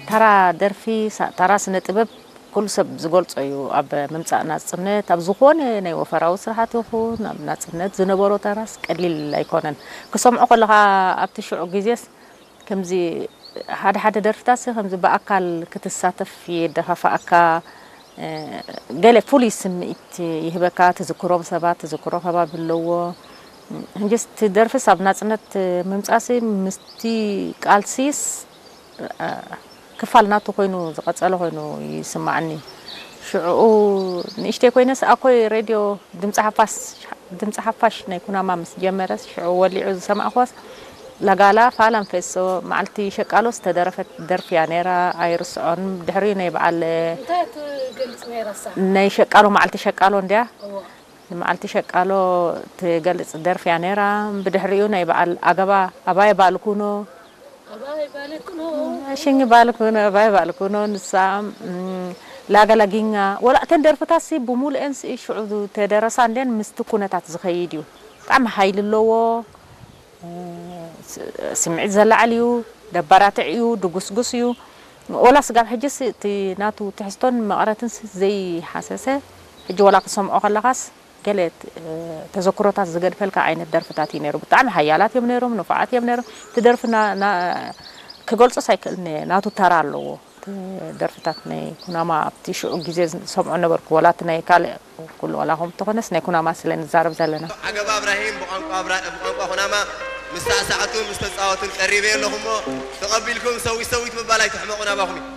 ተራ ደርፊ፣ ሳ- ተራ ስነ ጥበብ ኩሉ ሰብ ዝገልጾ እዩ። ኣብ ምምጻእ ናጽነት፣ ኣብ ዝኾነ ናይ ወፈራዊ ስራሓት ይኹን ኣብ ናጽነት ዝነበሮ ተራስ ቀሊል ኣይኮነን። ክሰምዖ ከለኻ ኣብቲ ሽዑ ግዜስ ከምዚ ሓደ ሓደ ደርፍታትሲ ከምዚ ብኣካል ክትሳተፍ የደፋፍኣካ። ገለ ፍሉይ ስምዒት ይህበካ። ትዝክሮም ሰባት፣ ትዝክሮ ከባቢ ኣለዎ። ሕጅስ እቲ ደርፍስ ኣብ ናጽነት ምምጻእሲ ምስቲ ቃልሲስ ክፋል ናቱ ኮይኑ ዝቐጸለ ኮይኑ ይስማዓኒ። ሽዑ ንእሽተይ ኮይነስ ኣኮይ ሬድዮ ድምፂ ሓፋሽ ናይ ኩናማ ምስ ጀመረስ ሽዑ ወሊዑ ዝሰማዕክዋስ ላጋላ ፋላም ፌሶ መዓልቲ ሸቃሎ ዝተደረፈት ደርፊ እያ ነይራ። ኣይርስዖን። ድሕሪኡ ናይ በዓል ናይ ሸቃሎ መዓልቲ ሸቃሎ እንድያ። ንመዓልቲ ሸቃሎ ትገልጽ ደርፊ እያ ነይራ። ብድሕሪኡ ናይ በዓል ኣገባ ኣባይ ባልኩኖ ሽኝ ባልኩኖ ኣባይ ባልኩኖ ንሳ ላገላጊኛ ወላ እተን ደርፍታሲ ብሙሉኤን ሽዑ ተደረሳ እንዴን ምስቲ ኩነታት ዝኸይድ እዩ። ብጣዕሚ ሃይሊ ኣለዎ። ስምዒት ዘላዕል እዩ። ደባራትዕ እዩ። ድጉስጉስ እዩ። ወላ ስጋብ ሕጅስ እቲ ናቱ ትሕዝቶን መቐረትን ዘይሓሰሰ ሕጂ ወላ ክሰምዖ ከለኻስ ገለ ተዘክሮታት ዝገድፈልካ ዓይነት ደርፍታት እዩ ነይሩ። ብጣዕሚ ሓያላት እዮም ነይሮም፣ ንፉዓት እዮም ነይሮም። እቲ ደርፊ ክገልጾስ ኣይክእልን እየ፣ ናቱ ተራ ኣለዎ። ደርፍታት ናይ ኩናማ ኣብቲ ሽዑ ግዜ ዝሰምዖ ነበርኩ። ወላ እቲ ናይ ካልእ ኩሉ ወላ ከም ተኾነስ ናይ ኩናማ ስለ ንዛረብ ዘለና። ዓገባ እብራሂም ብቋንቋ እብራ- ብቋንቋ ኩናማ ምስ ሳዕሳዕቱን ምስ ተጻወቱን ቀሪበ ኣለኹ እሞ ተቐቢልኩም ሰዊት ሰዊት ምባል ኣይትሕመቑ ናባኹም እዩ።